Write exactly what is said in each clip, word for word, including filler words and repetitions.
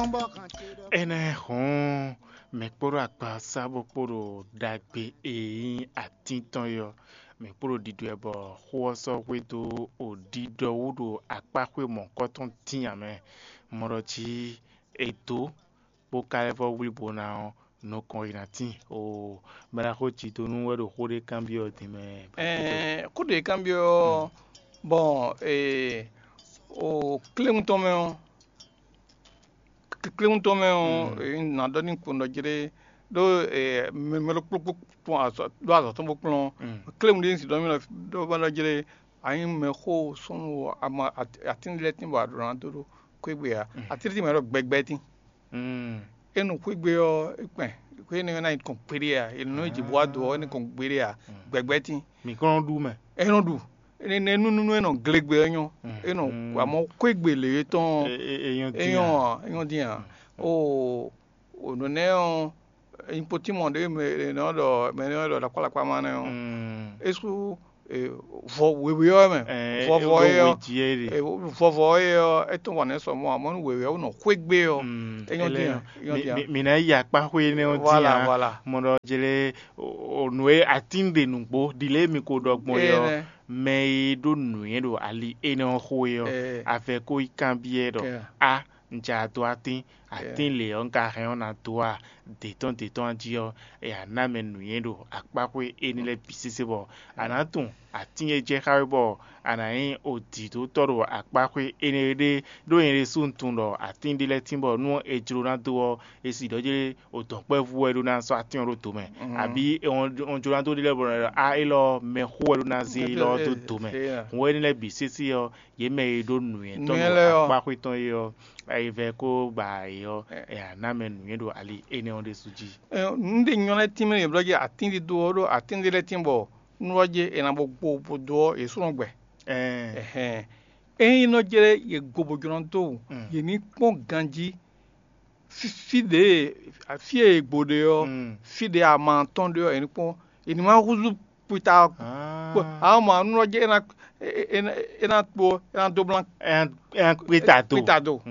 Énɛ́ hɔn mɛ kpódó akpasa bó kpódó ɖagbe e nyí atín tɔn é ɔ́, mɛ kpódó ɖiɖɔ ɛ bɔ xó ɔ́ sɔ́ hwedó ɖiɖɔ wú ɖo akpáxwé mɔ̌kɔ́ tɔn dín ǎ mɛ. Mɔ ɖɔ jí è dǒ bó ka lɛ́ vɔ́ wlí bo ná ɔ́, nukɔn e ná tíin. Oo, mɛ ɖaxó Jidonu wɛ ɖo xó ɖé kanbyɔ́ din mɛ. Ɛɛ, xó ɖě kanbyɔ́ ɔ́, bɔn ee, o kléwún tɔn mɛ ɔ́, kléwún tɔn mɛ ɔ́, ee, nǎ ɖɔ ní kpɔ́n ɖɔ jlé ɖó mɛ ɖokpókpó ɖó azɔ̌ tɔn bó kplɔ́n. Kléwún ɖé si ɖɔ mì ɖɔ bá ɖɔ jlé, anyi mɛ xó sɔ́nù ama atín lɛ́ɛ tín bɔ a ɖǒ ná dó ɖó xwé gbe ǎ. Atín tín mɛ ɖɔ gbɛgbɛ tín. É nɔ xwé gbe ɔ́, é kpɛn xwé énɛ́ ɔ́ ná nyí kɔn kpéɖé ǎ. È nɔ jǐ bó wá do ɔ́, é nɔ kɔn kpéɖé ǎ. Gbɛgbɛ tín. Mǐ kɔn nɔ ɖu mɛ. É nɔ ɖu. Énɛ́ nú nú é nɔ glegbɛ ɔ́ nyɔ́. É nɔ amɔ̌ xwé gbe lě e tɔn ɔ́, é nyɔ́ é dín ǎ. Nyɔ́ ǎ, é nyɔ́ dín ǎ. O o nǔ nɛ́ ɔ́, nyikpotímɔ ɖé mɛ è nɔ ɖɔ mɛ è nɔ ɖɔ ɖakpálakpá ma nɛ́ ɔ́, é sú vɔ wěwé ɔ́ mɛ. Vɔvɔ é ɔ́, vɔvɔ é ɔ́, é tɔn wà nɛ́ sɔ mɔ amɔ̌ nú wěwé ɔ́ nɔ xwé gbé ɔ́, é nyɔ́ dín ǎ, é nyɔ́ dín ǎ. Mǐ ná yi akpáxwé énɛ́ ɔ́ dín ǎ. Mɔ ɖɔ jlé nǔ e atín ɖe nǔgbó ɖi lě e mi ko ɖɔ gbɔn é ɔ́, mɛ e ɖó nǔnywɛ́ ɖo ali énɛ́ ɔ́ xo é ɔ́, avɛ ko yi kanbyɔ́ ɖɔ a un ja dó atín, atín lě ɔ́ un ka hɛn ɔ́ ná dó a? Dě tɔn dě tɔn jí ɔ́, è nǎ ná mɛ nǔnywɛ́ ɖo akpáxwé énɛ́ lɛ́ɛ bǐ sésé bɔ a nǎ tunwun atín e jɛ xá we bɔ a nǎ nyí odǐdótɔ́ ɖo akpáxwé énɛ́ ɖé. Ɖó nyɛ ɖésú un tunwun ɖɔ atín ɖé lɛ́ɛ tín bɔ nú è jló ná dó ɔ́, è si ɖɔ jlé odɔ̌nkpɛvú wɛ ɖó ná sɔ́ atín ɔ́ ɖó do mɛ, abǐ è jló ná dó ɖé lɛ́ɛ bɔ a élɔ́ mɛxó wɛ ɖó ná zé élɔ́ ɔ́ dó do mɛ. Hǔn énɛ́ lɛ́ɛ bǐ sésé ɔ́, yě mɛ e ɖó nǔnywɛ́tɔ́ nú akpáxwé tɔn é ɔ́, ayivɛ kó gba ayǐ ɔ́, è nǎ ná mɛ nǔnywɛ́ ɖo ali énɛ́ ɔ́ ɖésú jí. Nǔ ɖé nyɔ́ lɛ́ɛ tínmɛ yě blɔ́ jí atín ɖídó ɔ́ ɖó atín ɖé lɛ́ɛ tín bɔ nú ɔ́ jí è nǎ bó gbo bó dó ɔ́, yě sú nɔ gbɛ. Ɛhɛn. Ényí nɔ jlɛ́ yě gbo bó jlɔ́ dó wǔ, yě ní kpɔ́n ganjí fí ɖě fí e è gbo ɖe ɔ́, fí ɖě ama tɔn ɖe ɔ́, yě ní kpɔ́n, yě ní ma húzú kpita ɔ́ kpó. Ǎ mɔ anú ɔ́ jɛ é ná é ná kpó é ná dó blán Ɛ ɛ kpé ta do. Kpita do.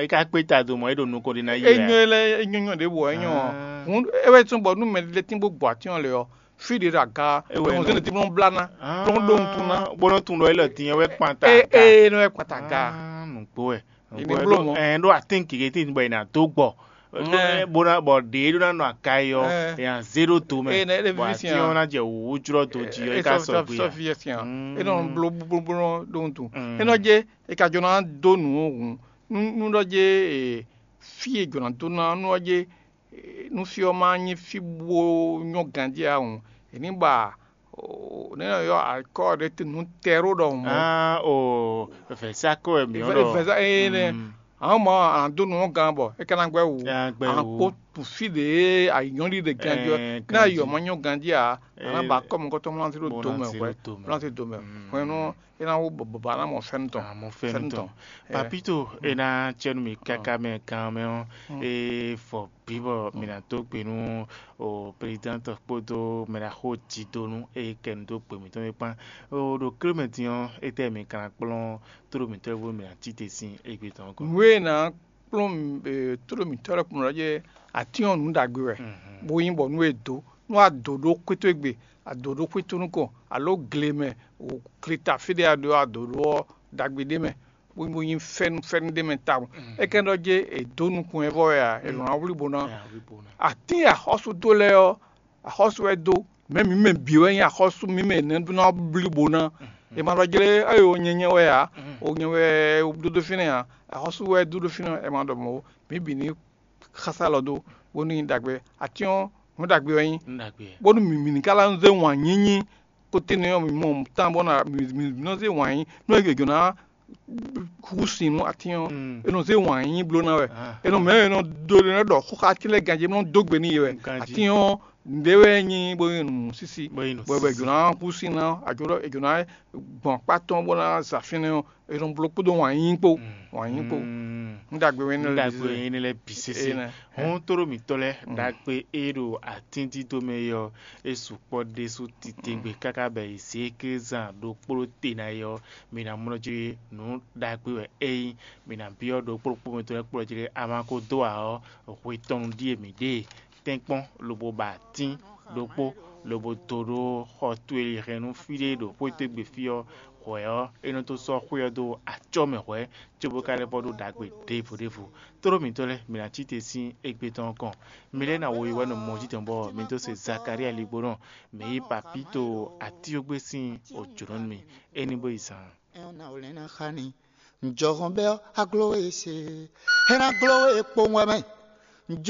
É ka kpé ta do mɔ é ɖo nukɔn ɖé ná yi É wɛ. Nyɔ́ lɛ é nyɔ́ nyɔ́ ɖěbǔ ɔ́ é nyɔ́ ǎ. Hǔn é wɛ tún bɔ nú mɛɖé lɛ́ɛ tín bó gbɔ atín ɔ́ lɛ ɔ́, fí ɖě ɖo aga É wɛ bɔ nɔ- zé ɖě tín blɔ́n blá ná. Blɔ́n ɖó wuntun ná. Bó nɔ tún ɖɔ é lɔ dín ɛ wɛ kpan ta Ée aga. Ée nɔ wɛ kpan ta aga. Ah, nǔgbó wɛ. È ní bló mɔ̌. Ɛ ɖó atín keke tín bɔ è nà dó gbɔ. Ɛ. Bó ná bɔ ɖě ɖó ná nɔ aka yi ɔ́, Ɛ. È nà zé ɖó do mɛ. Ée nɛ é ɖe Bɔ víví atín ɔ́ ná jɛ wǔwú jlɔ́ do jí ɔ́, é ká sɔgbe ǎ. Sɔ́ fí yɛ sín ǎ. Mm. É nɔ bló bló bló ɖó wuntun. Mm. É nɔ jɛ é ka jɔ ná dó nǔ hǔn. Nú nú ɖɔ jɛ ee, fí e jɔ̌ ná dó ná nú ɔ́ jɛ nú fí ɔ́ ma nyí fí bó nyɔ́ ganjí ǎ hǔn, è ní ba nɛ̌ nɔ ylɔ́ akɔ́ ɖé nú tɛ́ ɖó ɖɔhun mɔ̌. Ah, o vɛ̌sá kɔ wɛ mǐ ɔ́ ɖɔ. Vɛ̌sá ée nɛ́. Mm. Àwọn mɔ à ń dó nǔ gán bɔ é ka ná gbɛ́ wǔ. É ná gbɛ́ wǔ. À ń kpó tun fí ɖě ayǐnyɔ́lí ɖe ganjí ɔ́. Ɛ, ní ayǐ ɔ́ ma nyɔ́ ganjí ǎ, à ná ba kɔ́ mɔ̌kɔ́tɔn mlá sí ɖó do mɛ hwɛ̌. Mlá sí do mɛ. Hwɛ̌nú é ná wú bɔbɔ a ná mɔ fɛ́nú tɔn. Àmọ́ fɛ́nú tɔn. Papito, é ná cɛ́nú mì káká mɛ gan mɛ ɔ́, é fɔ bǐ bɔ mǐ ná dó gbe nú o prezidɛ́ntɔ kpódó mɛ ɖaxó Jidonu e kɛ nu dó gbe mǐtɔn é kpán. O ɖo kílómɛtì ɔ́, étɛ́ mǐ ka ná kplɔ́n tló mǐtɔn e bónú mǐ ná cí te sín égbé tɔn ɔ́ gɔ́? Nǔ e è nǎ kplɔ́n tló mǐtɔn lɛ́ɛ kplɔ́n ɔ́ jɛ atín ɔ́ nǔ ɖagbe wɛ, bó nyí bɔ nú è dǒ, nú a dǒ ɖó xwétó égbé, a dǒ ɖó xwétó nukɔn, aló gle mɛ, gleta fí ɖé a ɖǒ a dǒ ɖó ɔ́ ɖagbe ɖé mɛ, bó bó nyí fɛ́nú fɛ́nú ɖé mɛ tawun. É kɛ́n ɖɔ jɛ è dǒ nukɔn ɛ vɔ wɛ a, è nɔ ná wlí bo ná. Atín e axɔ́sú dó lɛ́ɛ ɔ́, axɔ́sú wɛ dó. Mɛ mǐ mɛ bǐ wɛ nyí axɔ́sú mǐ mɛ nɛ́ ná blí bo ná. È ma ɖɔ jlé eye o nyɛ nyɛ wɛ ǎ, o nyɛ wɛ ɖódó fínɛ́ ǎ, axɔ́sú wɛ dó ɖó fínɛ́, è ma ɖɔ mɔ̌ ó. Mǐ bǐ ní xásá lɔ dó, bónú nyí ɖagbe. Atín ɔ́, nǔ ɖagbe wɛ nyí. Bónú mǐ mǐ ní ka ná zé wǎn nyínyí kóténú ɔ́, mǐ mɔ tán bɔ ná mǐ mǐ nɔ zé wǎn nyí nú é jǒ ná hú sin nú atín ɔ́, é nɔ zé wǎn nyínyí bló ná wɛ. É nɔ mɛ é nɔ dó é nɔ ɖɔ xóxá atín lɛ́ɛ ganjí, é nɔ dó gbe n'i wɛ. Atín ɔ́, Nǔɖé wɛ nyí bó nyí nǔsísí, bó nyí nǔsísí. Bɔ è jǒ ná kú sín ná, a jǒ ɖɔ è jǒ ná gbɔn akpá tɔn bó ná za fínɛ́ ɔ́, è nɔ bló kpódó wǎn yíyí kpó. Wǎn yíyí kpó. Mm. Nú ɖagbe wɛ énɛ́ lɛ́ɛ bǐ zé. Énɛ́. Hɔn tóɖó mǐtɔn lɛ́ɛ, ɖagbe e ɖo atíndídó mɛ é ɔ́, é sukpɔ́ ɖésú titewungbe káká bɔ è zě kézán ɖokpó te ná é ɔ́, mǐ ná mlɔ́ jí nǔ ɖagbe wɛ é nyí. Mǐ ná byɔ́ ɖokpó ɖokpó mɛ tɔn lɛ́ɛ kplɔ́ jí lé a ma ko dó ǎ ɔ́, hwe tɔn nu ɖíe mǐ ɖe tɛ́nkpɔ́n lobo ba atín ɖokpó, lobo dó ɖó xɔ towe e hɛn nú fí ɖé ɖo xwé towe gbe fí ɔ́. Hwɛ̌ ɔ́, é nɔ tó sɔ́ xwé ɔ́ dó acɔ́ mɛ hwɛ̌, cóbó ka lɛ́ vɔ ɖó ɖagbe ɖěvo ɖěvo. Tlóló mǐtɔn lɛ́ɛ, mǐ ná cí te sín égbé tɔn ɔ́ kɔn. Mi lɛ́ɛ ná wo yi wɛ nɔ mɔ jítɔn bɔ mi dó se Zakalía ligbónɔ, mǐ yí papíto atíógbé sín ojǒnɔ nú mi. É ní bó yi zaan. Ɛ ɔ́, ná wlɛ́n ná xa ni. Ǹjɔhɔn bɛ́ ɔ́, a gló we se. É ná gló we kpowun wɛ mɛ.